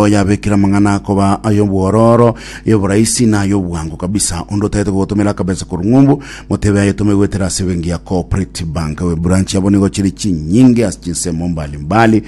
nigo yabekire amang'ana akoba ay'obwororo, ay'oboraisi na ay'obwango kabisa. Onde otagete gogotomera akabesa korwa ng'umbu, motebe ayetome goetera ase ebenki ya Cooperative Bank. Branch yabo nigo chire chinyinge ase chinsemo mbali mbali.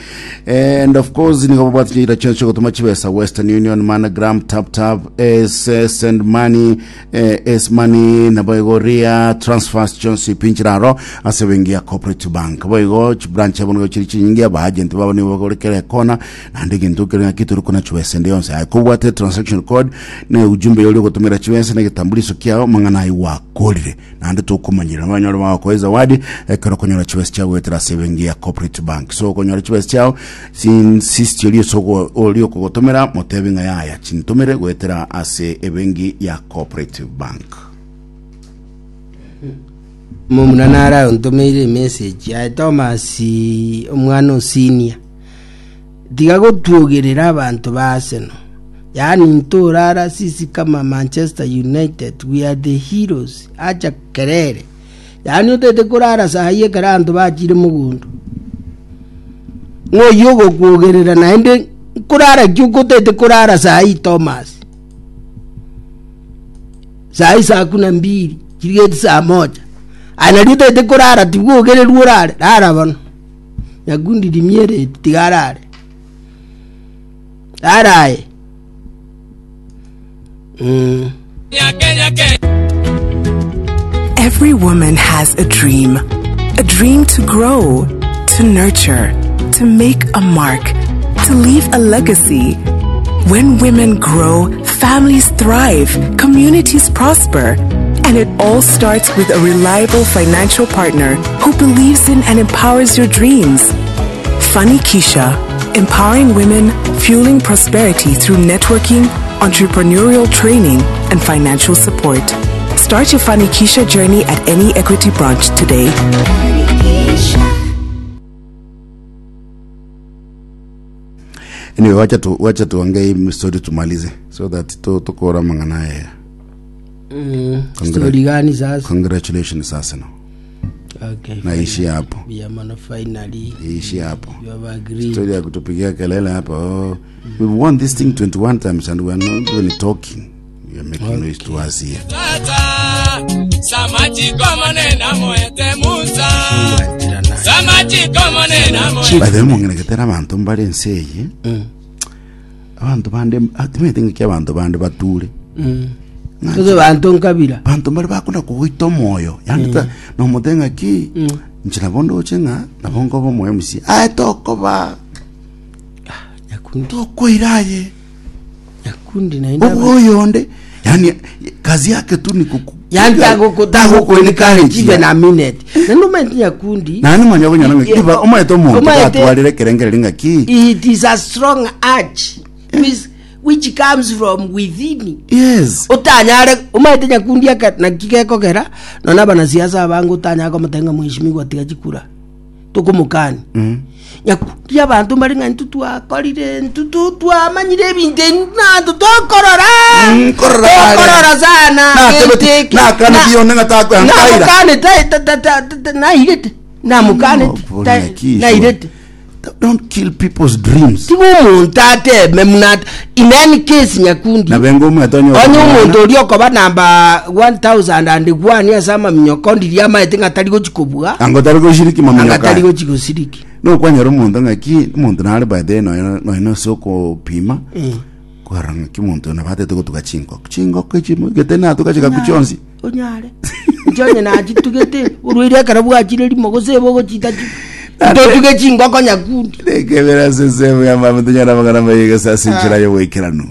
And of course nigo babwate chinchera chionsi chiogotoma chibesa Western Union, MoneyGram, Tap Tap, S, Send Money, eh, S Money, nabo igo Ria, Transfers chionsi pi nchiraro ase benki ya Cooperative Bank. Boigo chibranch yabo nigo chiri chinyinge, aba agent babo nigo bakore kera ekona, naende egento kere ng'aki tori kona chibesa ende yonsi. Aye kobwate transaction code na ujumbe yori ogotomera chibesa na egetambuliso kiao, amang'ana ayio gwakorire. Naende tokomanyerera abanyore bagokoa ezawadi ekero okonyora chibesa chiao goetera ase ebenki ya Cooperative Bank. So okonyora chibesa chiao insist oria ase ogo- oria okogotomera motebi ng'a yaya chintomere goetera ase ebenki ya Cooperative Bank. Momura nare ontomeire emessage aye Thomas omwana o senior tiga gotwogerera abanto ba Arsenal yaani ntorara sisi kama Manchester United we are the heroes acha kerere yaani otete korara sahi ekero abanto bachire mogondo ng'a oyio ogokwogerera naende nkorara ki okotete korara sahi Thomas Saa isaa kumi na mbili chirigeti saa moja aye nario otagete korara tibwogererwa orare rara bono nyakundi rimia ereti tiga arare rara aye mm. Every woman has a dream. A dream to grow, to nurture, to make a mark, to leave a legacy. When women grow, families thrive, communities prosper. And it all starts with a reliable financial partner who believes in and empowers your dreams. Funny Keisha, empowering women, fueling prosperity through networking, entrepreneurial training, and financial support. Start your Funny Keisha journey at any Equity branch today. Anyway, wacha tu wacha tuongee hii story tumalize so that tu tukora mang'ana aya. Mm. Congra- Story gani sasa? Congratulations Arsenal. Okay. Naishi hapo. Yeah, man, finally. Ishi hapo. You have agreed. Story ya kutupigia kelele hapa. Oh, we've won this thing 21 times and we are not even talking. You are making noise to us here. By the way, mongereketera abanto mbare ense eye. Abanto bande timanyete ng'aki abanto bande bature. Gose banto nkabira. Banto mbare bakona kogoita omoyo. Yaani ta nomote ng'aki inche nabo ndoche ng'a nabo nkoba omoyo omosie. Aye tokoba Nyakundi. tokoira aye. Nyakundi naende aba- Oboyonde yani kazi yake tu ni kuku Yani tago tago encourage even a minute. Naende omanyete Nyakundi. Naende manya okonyora ng'aki Yeah. iba omanyete omonto Omanyete- gatwarire ekerengereri ng'aki It is a strong urge which, which comes from within. yes Otanyare omanyete Nyakundi aka naki gekogera nonye abanasiasa abange otanyare komotebia ng'a mheshimiwa tiga chikura. tokomokania. Nyakundi abanto mbare ng'a intwe twakorire intwe tu- twamanyire ebinto ebi naanto tokorora Mm, korora kare. tokorora sana Natebeti- gento eke. nakaneti Na- yonde ng'a tako- nkaira. namokanete ta- ta- ta- ta- ta- nairete namokanete Oh, ta- Nyakiso. nairete don't kill people's dreams tiga omonto ateme muna ate in any case nyakundi Nabe ngomwete onye onye okomwana. omonto oria okoba namba 1001 ase amaminyoko ndiria amaete ng'a tari gochi kobua Anga otari goshiriki anga maminyoko tari aya. gochi gosiriki Nokwanyora omonto ng'aki omonto nare by the way nonya nonya ase okopima kwarora ng'aki omonto oyo nabo atete gotuga chingoko chingoko echi gete natuga chigaku chionsi Onyare. Inche onye nachitugete, orwaire ekero bwachire rimo, gose ebe ogochita chi totuge chingoko nyakundi. Rekebera ase ensemo ya mama tonyara amang'ana amaya gose ase enchera y'oboikeranu.